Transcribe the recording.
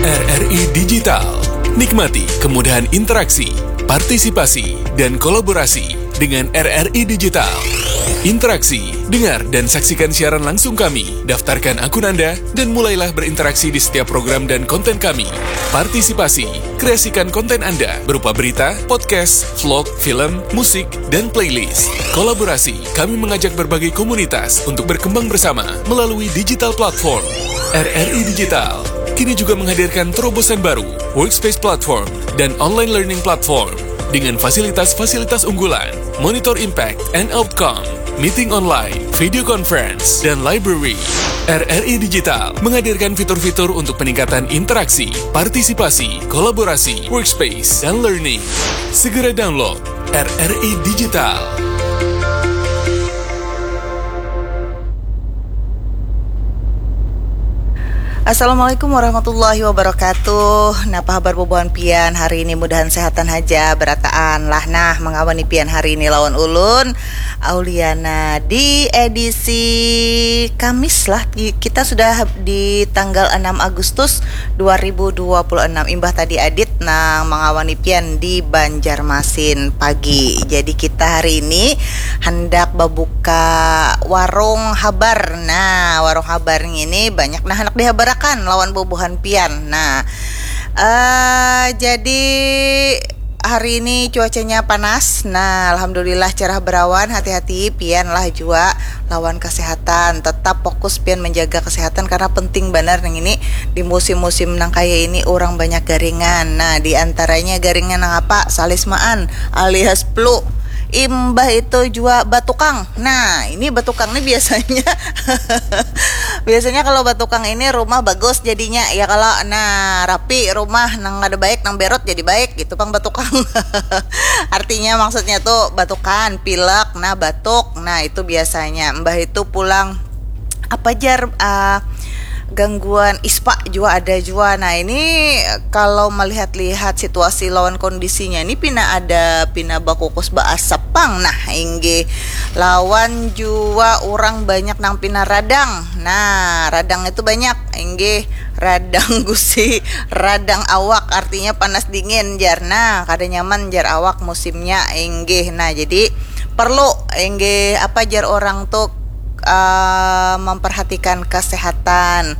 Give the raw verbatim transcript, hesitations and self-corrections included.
R R I Digital. Nikmati kemudahan interaksi, partisipasi, dan kolaborasi dengan R R I Digital. Interaksi, dengar, dan saksikan siaran langsung kami. Daftarkan akun Anda dan mulailah berinteraksi di setiap program dan konten kami. Partisipasi, kreasikan konten Anda berupa berita, podcast, vlog, film, musik, dan playlist. Kolaborasi, kami mengajak berbagai komunitas untuk berkembang bersama melalui digital platform. R R I Digital kini juga menghadirkan terobosan baru, Workspace Platform, dan Online Learning Platform, dengan fasilitas-fasilitas unggulan, monitor impact and outcome, meeting online, video conference, dan library. R R I Digital menghadirkan fitur-fitur untuk peningkatan interaksi, partisipasi, kolaborasi, workspace, dan learning. Segera download R R I Digital. Assalamualaikum warahmatullahi wabarakatuh. Napa habar bubuhan pian hari ini? Mudahan sehatan haja, berataan lah. Nah, mengawani pian hari ini lawan ulun, Auliana, di edisi Kamis lah. Di- Kita sudah di tanggal enam Agustus dua ribu dua puluh enam. Imbah tadi Adit nang mengawani pian di Banjarmasin pagi. Jadi kita hari ini hendak babuka warung habar. Nah, warung habar ini banyak nah hendak dihabarakan lawan bubuhan pian. Nah, eh jadi hari ini cuacanya panas. Nah, alhamdulillah cerah berawan. Hati-hati pian lah jua lawan kesehatan. Tetap fokus pian menjaga kesehatan karena penting banar nang ini di musim-musim nang kaya ini orang banyak garingan. Nah, di antaranya garingan nang apa? Salismaan alias flu. Imbah itu jua batukang. Nah, ini batukang nih biasanya biasanya kalau batukang ini rumah bagus jadinya ya kalau nah rapi rumah nang ada baik nang berot jadi baik gitu pang batukang. Artinya maksudnya tuh batukan, pilek, nah batuk, nah itu biasanya. Mbah itu pulang apa jar uh, gangguan ispa juga ada juga. Nah ini kalau melihat-lihat situasi lawan kondisinya ini pina ada pina bakukus baasap pang. Nah inggih lawan juga orang banyak nang pina radang. Nah radang itu banyak inggih radang gusi, radang awak artinya panas dingin jar. Nah kada nyaman jar awak musimnya inggih. Nah jadi perlu inggih apa jar orang tuh uh, memperhatikan kesehatan.